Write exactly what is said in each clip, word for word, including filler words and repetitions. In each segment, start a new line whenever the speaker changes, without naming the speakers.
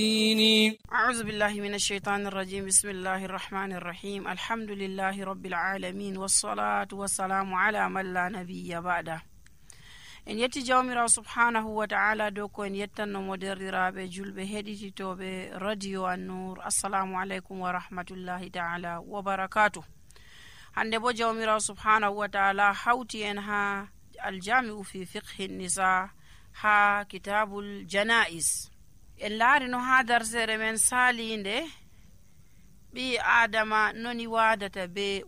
أعوذ بالله من الشيطان الرجيم بسم الله الرحمن الرحيم الحمد لله رب العالمين والصلاة والسلام على من لا نبي بعده. en yetti jawmirawo subhanahu wa ta'ala dow ko en yettannomo derɗiraɓe julɓe heɗititoɓe radio An-Nur. assalamu aleykum wa rahmatullahi ta'ala wa barakatuh. hande bo jawmirawo subhanahu wa ta'ala hawti en ha aljami'u fi fiqhi nisa ha kitabul janais. en laari no ha darsere men salinde ɓi adama noni wadata be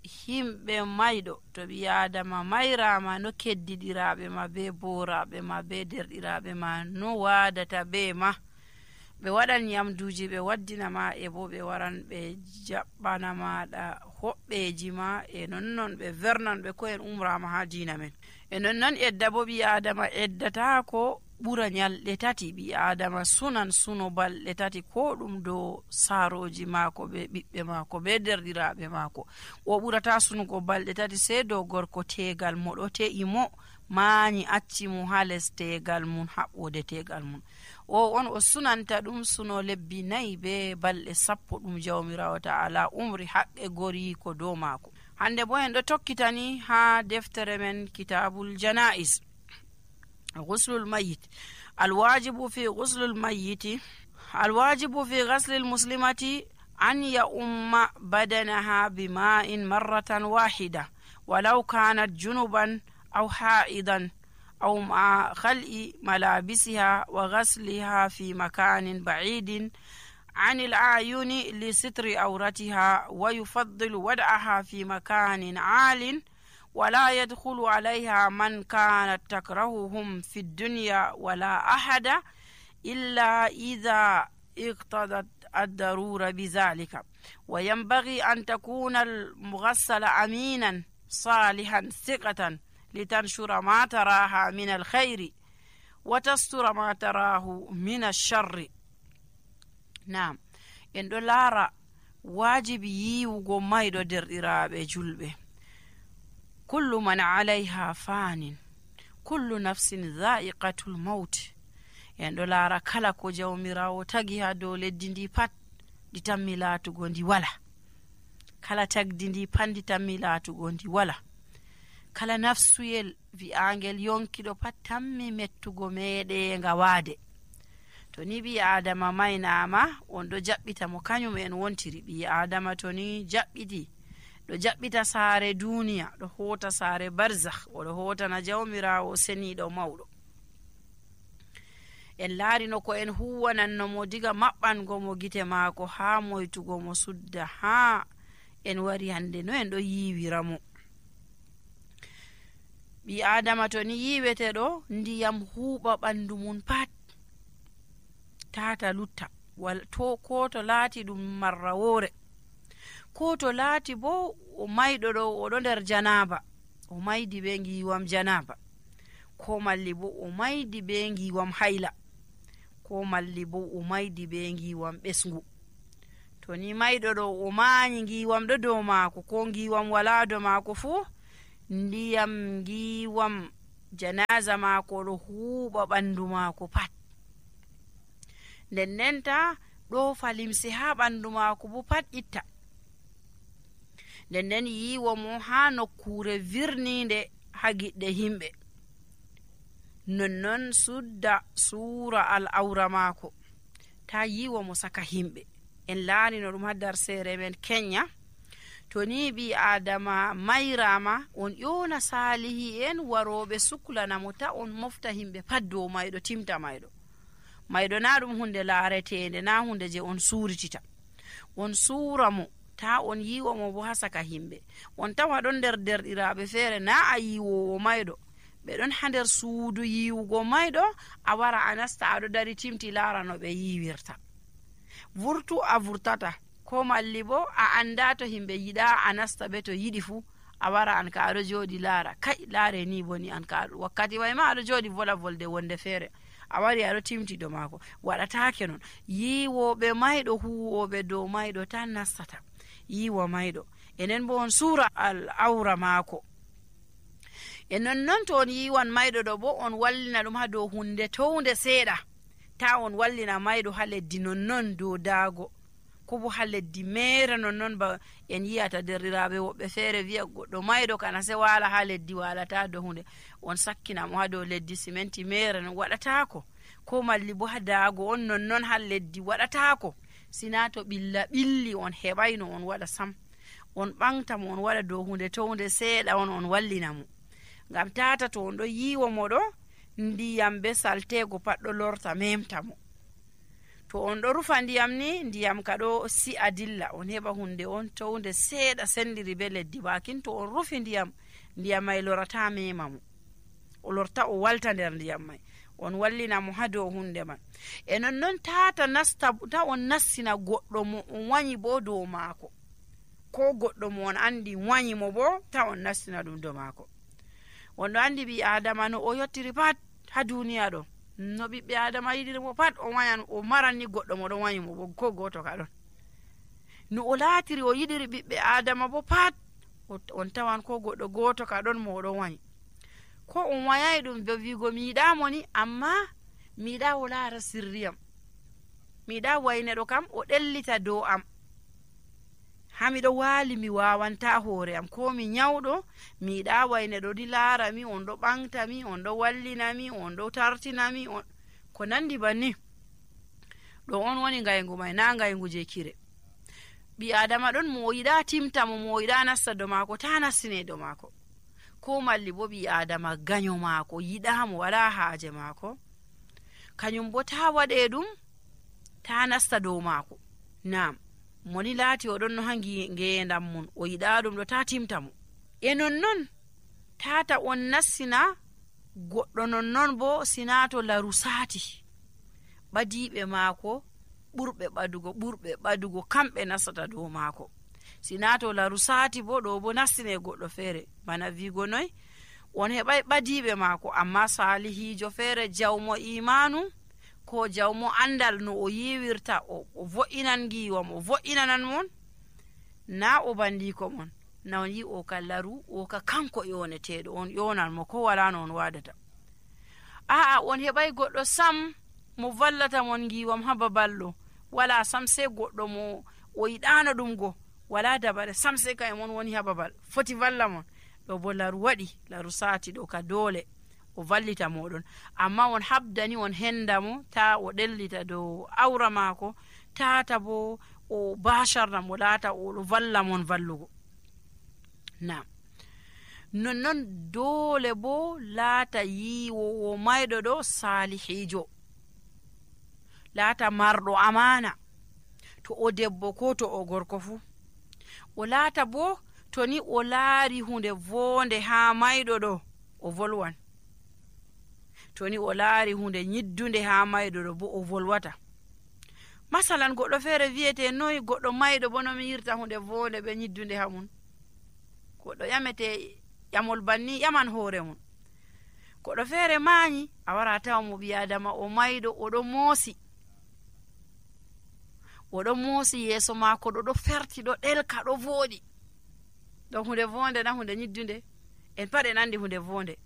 himɓe mayɗo to ɓi adama mayrama no keddiɗiraɓe ma be boraɓe ma be derɗiraɓe ma no wadata be ma. ɓe waɗan nyamduji ɓe waddina ma e bo ɓe waran ɓe jaɓɓana maɗa hoɓɓeji ma e nonnon ɓe vernan ɓe ko en umrama ha dina men. e nonnon edda bo ɓi adama eddata ko ɓura nyalɗe tati. ɓi adama sunan suno balɗe tati ko ɗum dow saroji maako be ɓiɓɓe maako be derɗiraɓe maako. o ɓurata sunugo balɗe tati sey dow gorko tegal mo ɗo te'i mo maani acci mo ha les tegal mum haɓɓode tegal mum. o on o sunanta ɗum suno lebbi nayi be balɗe sappo ɗum jawmirawo ta'ala umri haqqe gori ko dow maako. hande bo en ɗo tokkitani ha deftere men kitabul janais. غسل الميت. الواجب في غسل الميت الواجب في غسل المسلمة أن يؤم بدنها بماء مرة واحدة ولو كانت جنبا أو حائضا أو مع خلع ملابسها وغسلها في مكان بعيد عن الأعين لستر عورتها، ويفضل وضعها في مكان عال ولا يدخل عليها من كانت تكرههم في الدنيا ولا أحد إلا إذا اقتضت الضرورة بذلك. وينبغي أن تكون المغسل أمينا صالحا ثقة لتنشر ما تراها من الخير وتستر ما تراه من الشر. نعم إن دولارا واجب ييوغو مايدو درɗiraɓe julɓe. كل من عليها فان كل نفس ذائقة الموت. en ɗo laara kala ko jawmirawo tagi ha dow leddi ndi pat ndi tammi laatugo ndi wala. kala tagdi ndi pat ndi tammi laatugo ndi wala. kala nafsuyel wi'angel yonkiɗo pat tammi mettugo meɗenga waade. to ni ɓi adama maynama on ɗo jaɓɓita mo kañum en wontiri. ɓi adama to ni jaɓɓiti ɗo jaɓɓita saare duniya, ɗo hota saare barzakh, oɗo hotana jawmirawo seniɗo mawɗo. en laarino ko en huwanannomo diga maɓɓango mo gite maako ha moytugo mo sudda ha en wari hande no en ɗo yiwiramo. ɓi adama to ni yiwete ɗo ndiyam huuɓa ɓandu mum pat tata lutta wal to ko to laati ɗum marra wore, ko to laati bo o mayɗo ɗo oɗo nder janaba, o maydi be ngiwam janaba, ko malli bo o maydi be ngiwam hayla, ko malli bo o maydi be ngiwam ɓesngu. to ni mayɗo ɗo o mañi ngiwam ɗo dow maako ko ngiwam wala dow maako fuu, ndiyam ngiwam janaza maako ɗo huuɓa ɓandu maako pat. nden ndenta ɗo falimse ha ɓandu maako bo pat itta. nden nden yiwo mo ha nokkure virninde ha giɗɗe himɓe. nonnon sudda suura al awra maako ta yiwo mo saka himɓe. en laarino ɗum ha darsere men kenya. to ni ɓi adama mayrama on ƴona salihi en waroɓe suklanamo ta on mofta himɓe pat dow mayɗo timta mayɗo. mayɗo na ɗum hunde laaretende, na hunde je on suuritita. on suura mo ta on yiwo mo bo ha saka himɓe. on tawa ɗon nder derɗiraɓe feere na a yiwowo mayɗo, ɓe ɗon ha nder suudu yiwugo mayɗo, a wara a nasta aɗo dari timti laara no ɓe yiwirta. vurtu a vurtata, ko malli bo a anda to himɓe yiɗa a nasta ɓe to yiɗi fu a wara an ka aɗo jooɗi laara, kai laare ni boni an ka wakkati way ma aɗo jooɗi vola volde wonde feere a wari aɗo timti do maako. waɗatake non. yiwoɓe mayɗo huwoɓe dow mayɗo tan nastata yiwa mayɗo. enen bo on suura al awra maako. e nonnon to on yiwan mayɗo ɗo bo on wallina ɗum ha dow hunde townde seeɗa ta on wallina mayɗo ha leddi nonnon dow daago ko bo ha leddi mere nonnon ba en yiyata derriraɓe woɓɓe feere wiya goɗɗo mayɗo kana se wala ha leddi walata dow hunde on sakkinamo ha dow leddi simenti mere non waɗatako ko malli bo ha daago on nonnon ha leddi waɗatako sina to ɓilla ɓilli on heɓayno on waɗa sam on ɓantamo on waɗa dow hunde to hunde seeɗa on on wallinamo ngam tata to on ɗo yiwo moɗo ndiyam be saltego pat ɗo lorta memtamo to on ɗo rufa ndiyam ni ndiyam ka ɗo si'a dilla on heɓa hunde on to hunde seeɗa sendiri be leddi bakin to on rufi ndiyam ndiyam may lorata memamo o lorta o walta nder ndiyam may on wallinamo ha dow hunde man e nonnon tata nasta ta on nassina goɗɗo mo on wanyi bo dow maako ko goɗɗo mo on andi wanyi mo bo ta on nassina ɗum dow maako on ɗo andi ɓi adama no o yottiri pat ha duniya ɗo no ɓiɓɓe adama yiɗiri mo pat o wayan o maran ni goɗɗo mo ɗon wanyi mo bo ko goto ka ɗon no o laatiri o yiɗiri ɓiɓɓe adama bo pat on tawan ko goɗɗo goto ka ɗon mo oɗon wanyi ko on wayai ɗum be wigo mi yiɗamo ni amma mi yiɗa o laara sirriyam mi yiɗa wayneɗo kam o ɗellita dow am ha miɗo waali mi wawanta hoore am ko mi nyawɗo mi yiɗa wayneɗo ɗi laara mi on ɗo ɓanta mi on ɗo wallina mi on ɗo tartina mi on ko nandi banni ɗo on woni ngaygu may na ngaygu je kire ɓi adama ɗon mo yiɗa timta mo mo yiɗa nasta do maako ta nassine do maako ko malli bo ɓi adama gaño maako yiɗamo wala haaje maako kañum bo ta waɗe ɗum ta nasta dow maako nam moni laati oɗon no ha ngeendam mum o yiɗa ɗum ɗo ta timta mo e nonnon tata on nassina goɗɗo nonnon bo sina to laru saati ɓadiɓe maako ɓurɓe ɓadugo ɓurɓe ɓadugo kamɓe nasata dow maako sina to laru saati bo ɗo bo nassine goɗɗo feere bana wigo noy on heɓay ɓadiɓe maako amma salihijo feere jawmo imanu ko jawmo andal no o yiwirta o, o vo'inan giwam o vo'inanan mon na o bandiko mon na on yi o ka laru o ka kanko yoneteɗo on yonan mo ko wala no on wadata aa on heɓay goɗɗo sam mo vallata mon giwam ha baballo wala sam se goɗɗo mo o yiɗano ɗum go wala dabare sam se kay mon woni ha babal foti valla mon ɗo bo laru waɗi laru saati ɗo ka dole o vallita moɗon amma on habdani on hendamo ta o ɗellita dow awra maako tata bo o basharna mo laata oɗo valla mon vallugo na nonnon dole bo laata yiwowo mayɗo ɗo salihijo laata marɗo amana to o debbo ko to o gorko fu o laata bo to ni o laari hunde vonde ha mayɗo ɗo o volwan to ni o laari hunde nyiddunde ha mayɗo ɗo bo o volwata masalan goɗɗo feere wiyete noyi goɗɗo mayɗo bo nomi yirta hunde vonde ɓe nyiddunde ha mum goɗɗo ƴamete ƴamol banni ƴaman hoore mum goɗɗo feere maayi a wara tawa mo ɓi adama o mayɗo oɗo moosi oɗo moosi yeeso maako ɗo ɗo ferti ɗo ɗelka ɗo vooɗi ɗo hunde vonde na hunde nyiddunde en pat en andi hunde vonde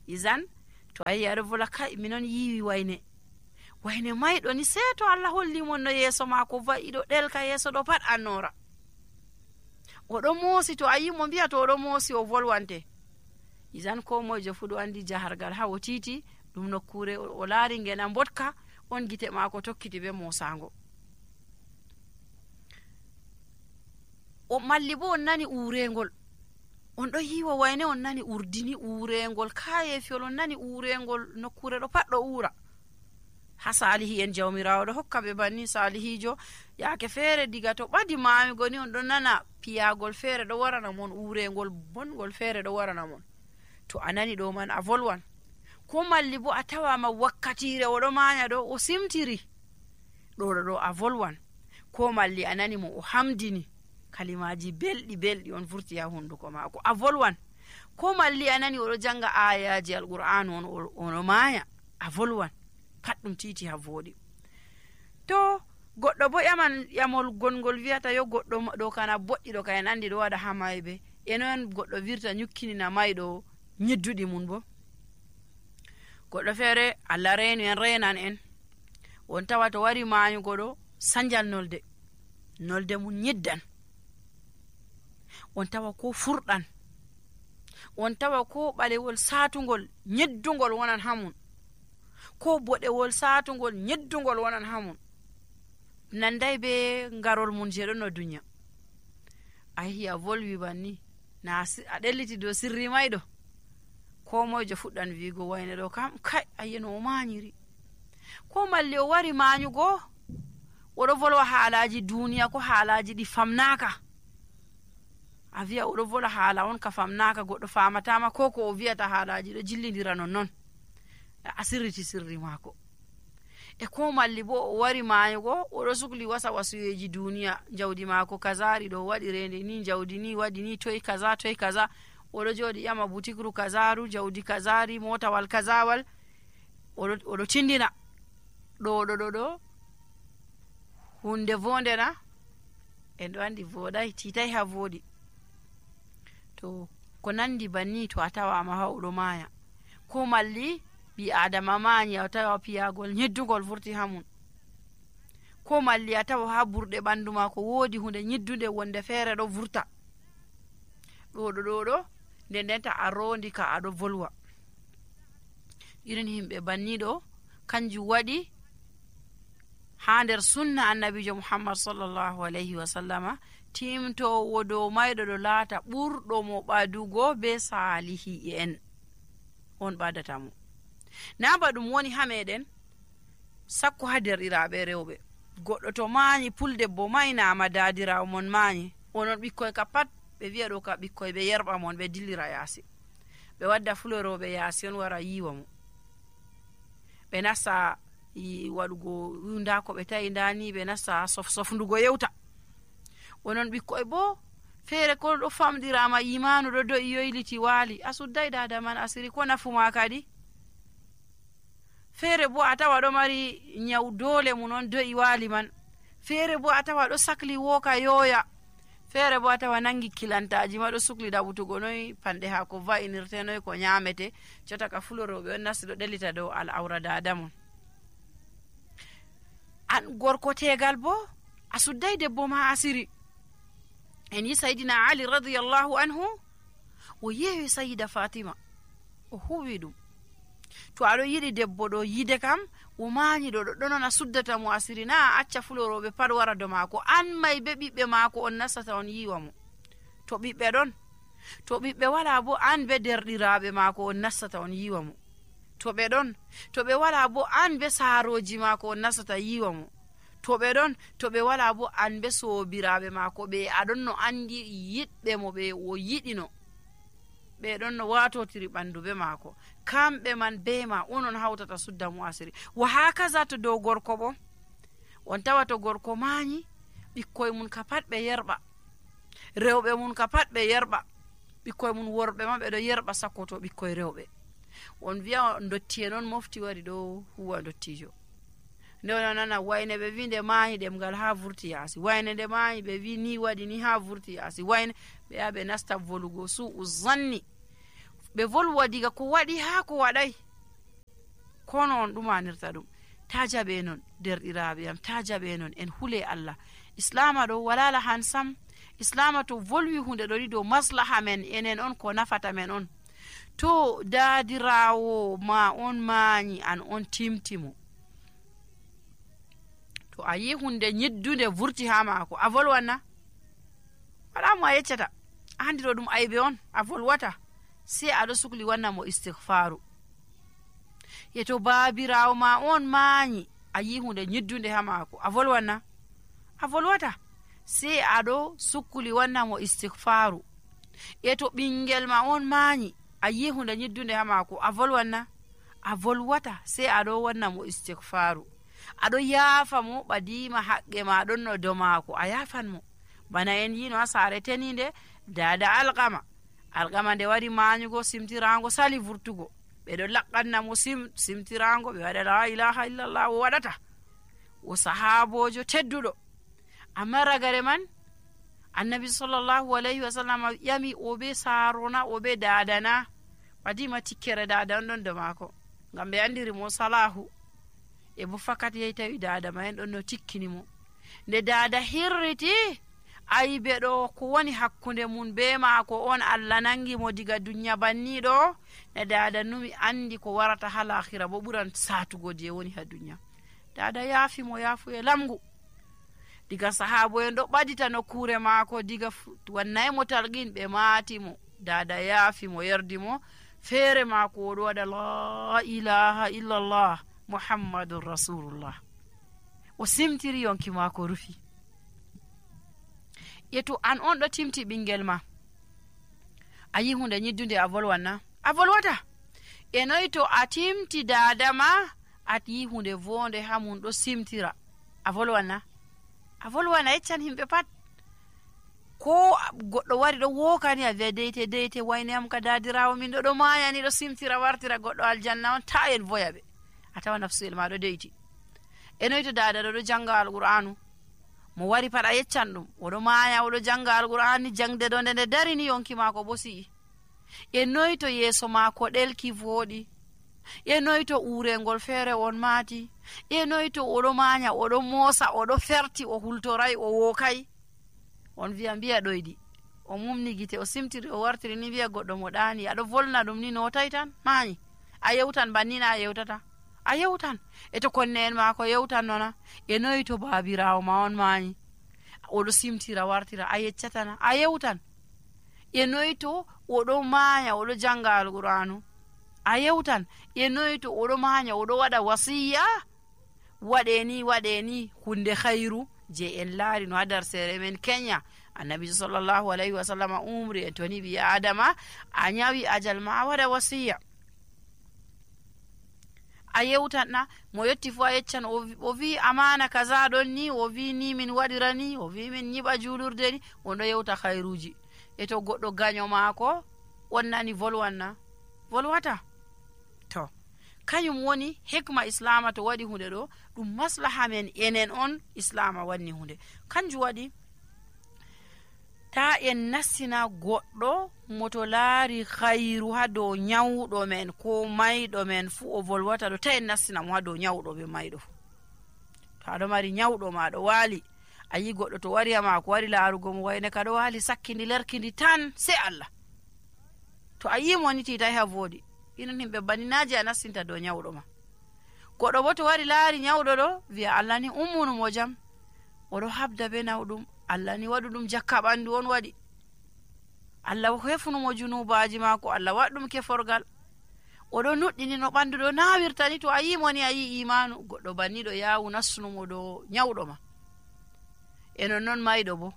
isan to ayi aɗo vola kai minon yiwi wayne wayne mayɗo ni se to Allah holli mon no yeeso maako va'i ɗo ɗelka yeeso ɗo pat annora oɗo moosi to ayi mo mbiya to oɗo moosi o volwante isan ko moyjo fu ɗo andi jahargal ha o titi ɗum nokkure o laari ngena mbotka on gite maako tokkiti be mosango o malli bo on nani urengol on ɗo yiwa wayne on nani urdini urengol kayefiol on nani urengol nokkure ɗo pat ɗo ura ha salihi en jawmirawo ɗo hokka ɓe banni salihijo yaake feere diga to ɓadi mamigo ni on ɗo nana piyagol feere ɗo warana mon urengol bongol feere ɗo warana mon to a nani ɗo man a volwan ko malli bo a tawama wakkatire oɗo maña ɗo o simtiri ɗo ɗo ɗo a volwan ko malli a nani mo o hamdini kalimaji belɗi belɗi on vurti ha hunduko maako a volwan ko malli a nani oɗo janga ayaji alqur'anu on ono maya a volwan pat ɗum titi ha voɗi to goɗɗo bo ƴaman ƴamol gongol wiyata yo goɗɗo ɗo kana boɗɗi ɗo ka en andi ɗo waɗa ha mayɓe enoen goɗɗo wirta nyukkinina mayɗo nyidduɗi mum bo goɗɗo feere Allah reenu en renan en on tawa to wari maayugo ɗo sanjal nolde nolde mum nyiddan, on tawa ko furɗan, on tawa ko ɓalewol saatugol nyeddugol wonan hamum, ko boɗewol saatugol nyeddugol wonan hamum, nanday be ngarol mum je ɗon no duniya. a yehi a volwi banni na a ɗelliti dow sirri mayɗo, ko moyjo fuɗɗan wiigo wayne ɗo kam kai ayi no o maanyiri, ko malli o wari maanyugo oɗo volwa haalaji duniya ko haalaji ɗi famnaka, a wiya oɗo vola haala on ka famnaka goɗɗo famatama, ko ko o wiyata haalaji ɗo jillidira non non, a sirriti sirri maako. e ko malli bo o wari maayugo oɗo sukli wasa wasuyeji duniya, jawdi maako kazari ɗo waɗi rende ni, jawdi ni waɗi ni, toy kaza toy kaza, oɗo jooɗi ƴama butikru kazaru, jawdi kazari, motawal kazawal, oɗo tindina ɗo ɗo ɗo ɗo hunde vonde na, en ɗo andi voɗai, titai ha voɗi. to ko nandi banni to a tawama ha oɗo maaya, ko malli ɓi adama maanyi a tawa piyagol nyeddugol vurti hamum, ko malli a tawa ha burɗe ɓandu ma ko woodi hunde nyiddude wonde feere ɗo vurta ɗo ɗo ɗo ɗo, nde ndenta a rondi ka aɗo volwa. irin himɓe banniɗo kanjum waɗi ha nder sunna annabijo muhammad sallllahu alayhi wa sallama, timtowo dow mayɗo ɗo laata ɓurɗo mo ɓadugo be salihi en, on ɓadatamo. na ba ɗum woni ha meɗen sakko ha derɗiraɓe rewɓe, goɗɗo to maanyi puldebbo maynama dadirawo mon maanyi, onon ɓikkoy ka pat ɓe wiya ɗo ka ɓikkoy ɓe yerɓa mon ɓe dillira yaasi, ɓe wadda fuloroɓe yaasi on wara yiwa mo, ɓe nasta waɗugo nda ko ɓe tawi ndani, ɓe nasta sof sofndugo yewta. onon ɓikkoy bo feere ko ɗo famɗirama imanu ɗo do'i yoyliti waali, a sudday dada man asiri, ko nafuma kadi. feere bo a tawa ɗo mari nyaw dole mum on do'i waali man, feere bo a tawa ɗo sakli woka yoya, feere bo a tawa nangi kilantaji ma ɗo sukli ɗaɓutugo noy panɗe ha ko va'inirte, noy ko nyamete, jota ka fuloroɓe on nasti ɗo ɗellita dow al'aura dada mon. an gorko tegal bo a sudday debbo ma asiri. en yi sayidina ali radiyallahu anhu o yewi sayida fatima o huwi ɗum, to aɗo yiɗi debbo ɗo yide kam o maanyi ɗo ɗo ɗonon a suddata mo asiri, na a acca fuloroɓe pat wara do maako, an may be ɓiɓɓe maako on nastata on yiwa mo. to ɓiɓɓe ɗon, to ɓiɓɓe wala bo an be derɗiraɓe maako on nastata on yiwa mo. to ɓe ɗon, to ɓe wala bo an be saaroji maako on nastata yiwa mo. to ɓe ɗon, to ɓe wala bo an be soobiraɓe maako ɓe aɗon no andi yiɗɓe mo ɓe o yiɗino, ɓe ɗon no watotiri ɓandu be maako, kamɓe man be ma onon hawtata sudda mo asiri. wa hakaza to dow gorko bo, on tawa to gorko maanyi ɓikkoy mum ka pat ɓe yerɓa, rewɓe mum ka pat ɓe yerɓa, ɓikkoy mum worɓe ma ɓe ɗo yerɓa sakkoto ɓikkoy rewɓe. on wiya dotti en on mofti wari ɗo huwa dottijo, nde on nana wayne ɓe wi nde maanyi ɗemgal ha vurti yaasi, wayne nde maanyi ɓe wi ni waɗi ni ha vurti yaasi, wayne ɓe ya ɓe nasta volugo su'u zanni, ɓe volwa diga ko waɗi ha ko waɗay, kono on ɗumanirta ɗum. ta jaɓe non derɗiraɓe am, ta jaɓe non, en hule Allah. islama ɗo walala han sam, islama to volwi hunde ɗo ɗi dow maslaha men enen on, ko nafata men on. to dadirawo ma on maanyi an on timtimo, to a yi hunde nyiddude vurti ha maako, a volwanna? wala mo a yeccata, a andi ɗo ɗum aybe on, a volwata, sai aɗo sukli wanna mo istighfaru. yeto babirawo ma on maanyi a yi hunde nyiddunde ha maako, a volwanna? a volwata, sai aɗo sukli wanna mo istighfaru. yeto ɓingel ma on maanyi a yi hunde nyiddunde ha maako, a volwanna? a volwata, sai aɗo wanna mo istighfaru, aɗo yaafa mo ɓadima haqqe ma ɗon no do maako, a yafan mo. bana en yino ha saare teninde dada alqama, alqama nde wari maanyugo simtirango sali vurtugo, ɓeɗo laqqanna mo sim simtirango, ɓe waɗa la ilaha illallah, o waɗata, o sahabojo tedduɗo. amma ragare man annabi sallllahu alayhi wa sallam ƴami o be saarona, o be dadana, ɓadima tikkere dada on ɗon do maako, ngam ɓe andiri mo salahu. e bo fakat yehi tawi dada ma en ɗon no tikkini mo. Nde dada hirriti ayi ɓe ɗo ko woni hakkunde mum be maako on Allah nangi mo diga dunya banniɗo. Ne dada numi andi ko warata ha lahira bo ɓuran satugo je woni ha dunya. Dada yaafi mo yaafu e lamgu. Diga sahabo en ɗo ɓadita nokkure maako diga wannayi mo talqin ɓe maati mo. Dada yaafi mo yerdi mo feere maako oɗo waɗa la ilaha illallah muhammadun rasulullah. O simtiri yonki maako rufi. Yeto an on ɗo timti ɓingel ma a yi hunde ñiddunde a volwanna a volwata. E noyi to a timti dada ma a yi hunde vonde ha mum ɗo simtira a volwanna a volwana yeccan himɓe pat. Ko goɗɗo wari ɗo wokani a wiya deyte deyte wayne am ka dadirawo min ɗo ɗo mayani ɗo simtira wartira goɗɗo aljanna on ta en voya ɓe a tawa nafsuel ma ɗo deyti. E noyi to dada ɗo ɗo janga alqur'anu mo wari pat a yeccan ɗum oɗo maya oɗo janga alqur'an ni jangde ɗo nde nde darini yonki maako bo si'i. E noyi to yeeso maako ɗelki voɗi. E noyi to urengol feere on maati. E noyi to oɗo manya oɗo moosa oɗo ferti o hultorai o wokai. On wiya mbiya ɗoyɗi o mumni gite o simtiri o wartiri ni wiya goɗɗo mo ɗaani aɗo volna ɗum ni notai tan maani a yewtan bannina a yewtata a yewtan. E to konne en maako yewtan nona. E noyi to baabirawo ma on maani oɗo simtira wartira a yeccatana a yewtan. E noyi to oɗo maaya oɗo janga alqur'anu a yewtan. E noyi to oɗo maaya oɗo waɗa wasiya waɗe ni waɗe ni hunde khairu je en laari no ha dar sere men Kenya. Annabi sallallahu alayhi wa sallam umri en toni ɓi adama a nyawi ajal ma a waɗa wasiya a yewtan na mo yetti fu a yeccan o wi amana kaza ɗon ni o wi ni min waɗira ni o wi min nyiɓa julurde ni on ɗo yewta khairuji. E to goɗɗo gaño maako on nani volwanna volwata. To kañum woni hikma islama to waɗi hunde ɗo ɗum maslaha men enen on islama wanni hunde. Kanjum waɗi ta en nassina goɗɗo moto laari khairu ha dow nyawɗo men ko mayɗo men fu o volwata ɗo ta en nassina mo ha dow nyawɗo be mayɗo. To aɗo mari nyawɗo ma ɗo waali a yi goɗɗo to wari ma ko wari laarugo mo wayne ka ɗo waali sakkindi lerkindi tan sai Allah. To a yi mo ni titai ha voodi inon himɓe baninaji a nassinta dow nyawɗo ma. Goɗɗo bo to wari laari nyawɗo ɗo wiya Allah ni ummunumo jam oɗo habda be nawɗum Allah ni waɗu ɗum jakka ɓandu on waɗi Allah hefnumo junubaji maako Allah waɗɗum keforgal oɗo nuɗɗini no ɓandu ɗo nawirtani. To a yimo ni a yi imanu goɗɗo banniɗo yawu nassunumo dow nyawɗo ma. E nonnon mayɗo bo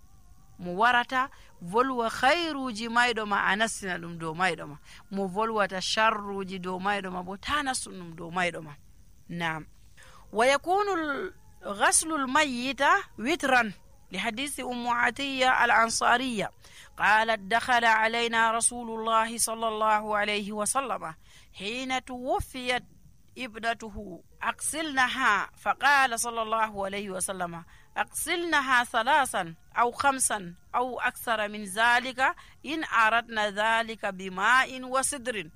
mo warata volwa khairuji mayɗo ma a nassina ɗum dow mayɗo ma. Mo volwata sharruji dow mayɗo ma bo ta nassun ɗum dow mayɗo ma. Naam. Wa yakunu ghaslu al-mayyita witran لحديث أم عطية الأنصارية قالت دخل علينا رسول الله صلى الله عليه وسلم حين توفيت ابنته أغسلنها فقال صلى الله عليه وسلم أغسلنها ثلاثا أو خمسا أو أكثر من ذلك إن أردنا ذلك بماء وسدر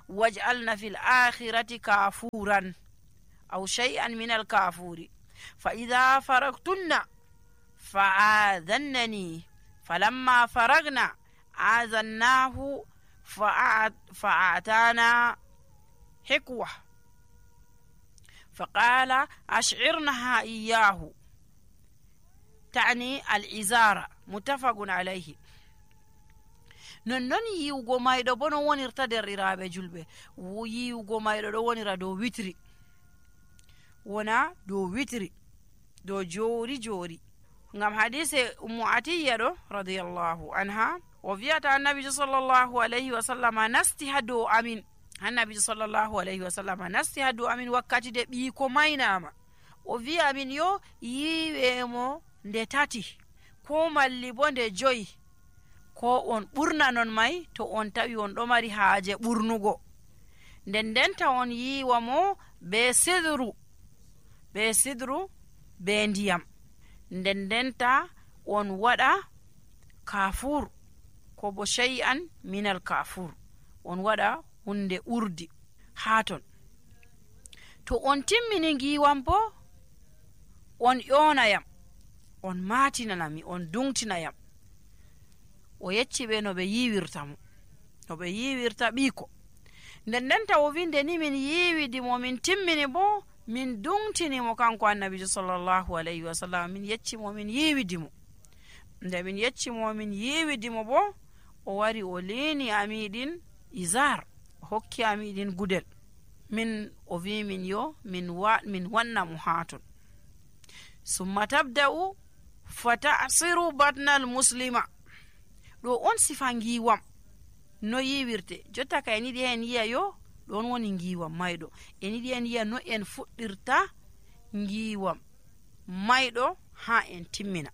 واجعلنا في الآخرة كافورا أو شيئا من الكافور فإذا فرغتن فآذنني فلما فرغنا آذناه فأعطانا حكوة فقال أشعرنها إياه تعني الإزارة متفق عليه. nonnon yiwugo mayɗo bo no wonirta derɗiraɓe julɓe yiwugo mayɗo ɗo wonira dow witri wona dow witri dow joori joori ngam hadise ummu atiya ɗo radiyallahu anha o wiyata annabijo sallllahu alayhi wa sallama nasti ha dow amin annabijo sallllahu alayhi wa sallama nasti ha dow amin wakkati de ɓiiko maynama o wiya amin yo yiwemo nde tati ko malli bo nde joyi ko on ɓurna non may to on tawi on ɗo mari haaje ɓurnugo nden ndenta on yiwa mo be sidru be sidru be ndiyam nden ndenta on waɗa kafur ko bo shay'an minal kafur on waɗa hunde urdi ha ton to on timmini ngiwam bo on ƴonayam on matinanami on dungtinayam. O yecci ɓe no ɓe yiwirta mo no ɓe yiwirta ɓiiko. nden ndenta o winde ni min yiwidimo min timmini bo min dungtinimo kanko annabijo sallallahu alayhi wa sallam. min yeccimo min yiwidimo. nde min yeccimo min yiwidimo bo o wari o lini amiɗin izar o hokki amiɗin gudel min o wi min yo min wa min wanna mo haton. summa tabda'u fatasiru batnal muslima. ɗo on sifa ngiwam no yiwirte. jotta ka en yiɗi en yiya yo ɗon woni ngiwam mayɗo. en yiɗi en yiya no en fuɗɗirta ngiwam mayɗo ha en timmina.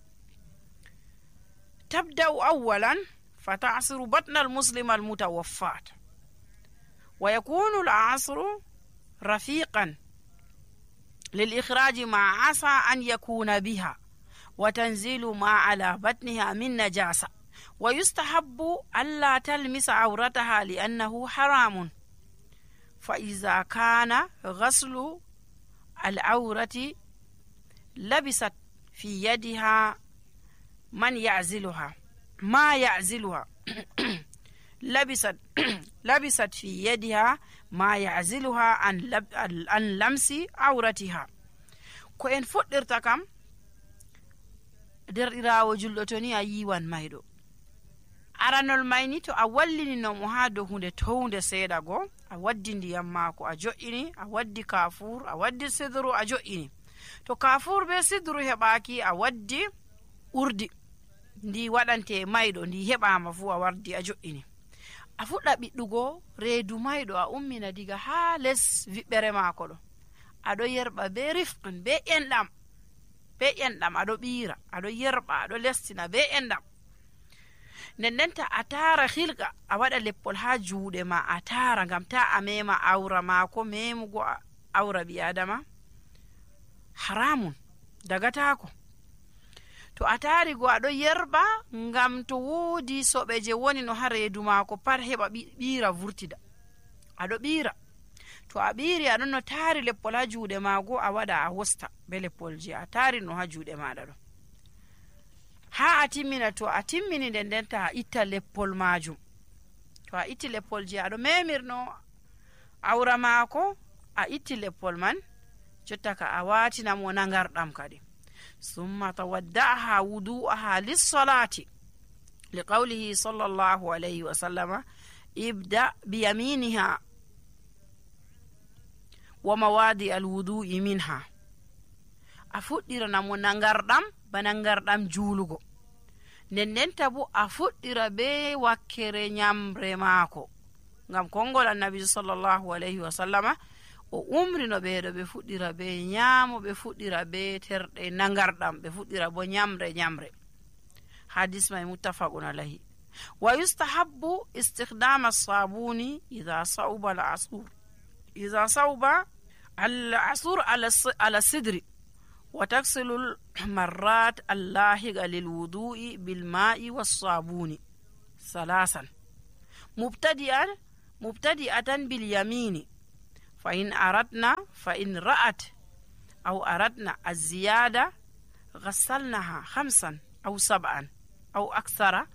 tabda'u awwalan fatasiru batnal muslima almutawaffat wa yakunu al-asru rafiqan للإخراج ما عسى أن يكون بها وتنزيل ما على بطنها من نجاسة ويستحب ألا تلمس عورتها لأنه حرام. فإذا كان غسل العورة لبست في يدها من يعزلها ما يعزلها لبست لبست في يدها ما يعزلها عن لب عن لمس عورتها. ko en fuɗɗirta kam derɗirawo julɗo to ni a yiwan mayɗo. aranol mayni to a wallinino mo ha dow hunde townde seeɗa go a waddi ndiyam maako a jo'ini a waddi kafur a waddi sidru a jo'ini. to kafur be sidru heɓaki a waddi urdi ndi waɗante mayɗo ndi heɓama fu a wardi a jo'ini. a fuɗɗa ɓiɗɗugo reedu mayɗo a ummina diga ha les viɓɓere maako ɗo aɗo yerɓa be rifqan be enɗam be enɗam aɗo ɓiira aɗo yerɓa aɗo lestina be enɗam. nden ndenta a tara hilga a waɗa leppol ha juuɗe ma a tara ngam ta a mema awra maako. memugo awra ɓi adama haramun dagatako. to a tari go aɗo yerɓa ngam to woodi soɓe je woni no ha reedu maako pat heɓa ɓiira vurtida aɗo ɓiira. to a ɓiiri aɗon no taari leppol ha juuɗe maago a waɗa a wosta be leppol je a taari no ha juuɗe maɗa ɗo ha a timmina. to a timmini nden ndenta a itta leppol majum. to a itti leppol je aɗo memirno awra maako a itti leppol man jotta ka a watinamo nangarɗam kadi. summa tawadda'aha wudu'aha lis-salati liqawlihi sallallahu alayhi wa sallama ibda biyaminiha wa mawadi alwudu'i minha. a fuɗɗirana mo nangarɗam ba nangarɗam juulugo. nden ndenta bo a fuɗɗira be wakkere nyamre maako ngam kongol annabi sallallahu alayhi wa sallama o umrino ɓeeɗo ɓe fuɗɗira be nyaamo ɓe fuɗɗira be terɗe nangarɗam ɓe fuɗɗira bo nyamre nyamre. hadis may muttafaqun alayhi. wa yustahabbu istikhdama as-sabuni idha sauba al-asur idha sauba al-asur ala sidri wa taksilu al-marrat allahiqa lil-wudu'i bil-ma'i was-sabuni salasan mubtadi'an mubtadi'atan bil-yamini فإن أردنا فإن رأت أو أردنا الزيادة غسلناها خمسا أو سبعا أو أكثر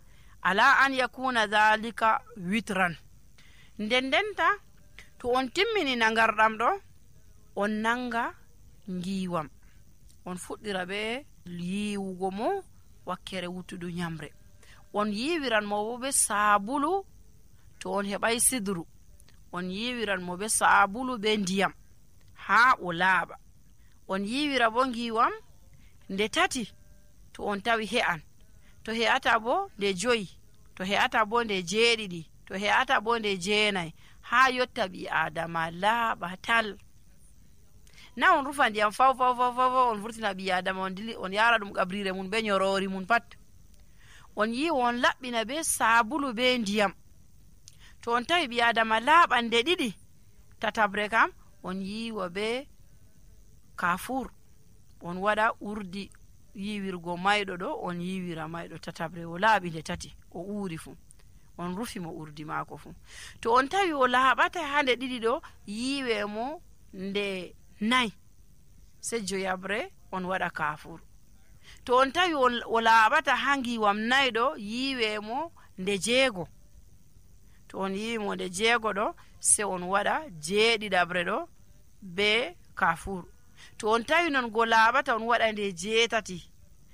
على أن يكون ذلك وترا. nden ndenta to on timmini nangarɗam ɗo on nanga ngiwam on fuɗɗira be yiwugo mo wakkere wuttudu nyamre. on yiwiran mo bo be sabulu to on heɓay sidru on yiwiran mo be sabulu be ndiyam ha o laaɓa. on yiwira bo ngiwam nde tati to on tawi he'an. to he'ata bo nde joyi to he'ata bo nde jeeɗiɗi to he'ata bo nde jeenayi ha yotta ɓi adama laaɓa tal. na on rufa ndiyam faw faw faw faw on vurtina ɓi adama on dili on yara ɗum ƙabrire mun be nyorori mun pat. on yiwa on laɓɓina be sabulu be ndiyam. to on tawi ɓi adama laaɓande ɗiɗi tatabre kam on yiwa be kafur on waɗa urdi yiwirgo mayɗo ɗo on yiwira mayɗo tatabre o laaɓi nde tati o uuri fu on rufi mo urdi maako fu. to on tawi o laaɓata ha nde ɗiɗi ɗo yiwe mo nde nayi sey joyabre on waɗa kafur. To on tawi o laaɓata ha ngiwam nayi ɗo, yiiwe mo nde jeego. To on yiwi mo nde jeego ɗo, sey on waɗa jeeɗiɗabre ɗo be kafur. To on tawi non go laaɓata on waɗa nde jeetati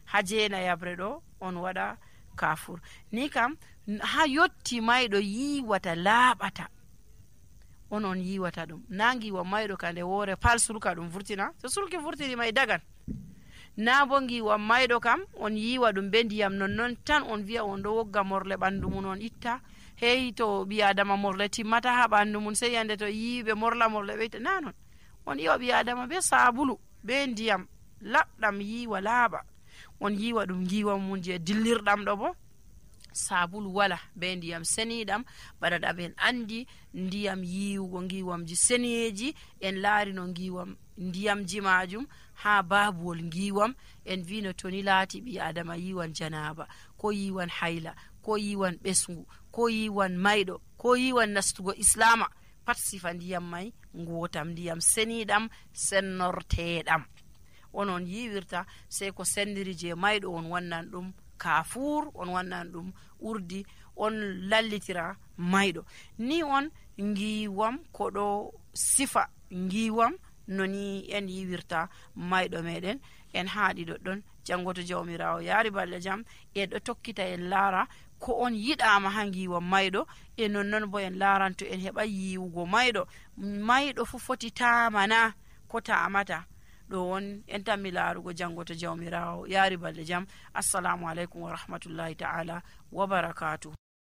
ha jeenayabre ɗo, on waɗa kafur. Ni kam ha yotti mayɗo yiwata laaɓata on on yiwata ɗum. Na ngiwa mayɗo ka nde woore pal sulka ɗum vurtina, so sulki vurtini may dagan. Na bo ngiwa mayɗo kam on yiwa ɗum be ndiyam nonnon tan, on wiya on ɗo wogga morle ɓandu mun on itta. Hey to ɓi adama morle timmata ha ɓandu mun, sey yande to yiiɓe morla morle ɓeyta. Na non, on yiwa ɓi adama be sabulu be ndiyam laɓɗam yiwa laaɓa. On yiwa ɗum ngiwa mun je dillirɗam ɗo bo sabulu wala be ndiyam seniɗam. Bana ɗam en andi ndiyam yiwugo ngiwamji seneji, en laari no ngiwam ndiyamji majum ha babuwol ngiwam. En vino toni laati ɓi adama yiwan janaba, ko yiwan hayla, ko yiwan ɓesngu, ko yiwan mayɗo, ko yiwan nastugo islama, pat sifa ndiyam may ngotam, ndiyam seniɗam sennorteɗam onon yiwirta. Sey ko sendiri je mayɗo on wannan ɗum kafur, on wannan ɗum urdi, on lallitira mayɗo. Ni on ngiwam ko ɗo sifa ngiwam noni en yiwirta mayɗo meɗen. En haaɗi ɗoɗɗon, jango to jawmirawo yaari balɗe jam en ɗo tokkita en laara ko on yiɗama ha ngiwam mayɗo, e nonnon bo en laaranto en heɓa yiwugo mayɗo. Mayɗo fu foti tamana ko tamata. ɗo on en tammi laarugo jango to jawmirawo yaari balɗe jam. Assalamu aleykum wa rahmatullahi ta'ala wa barakatuh.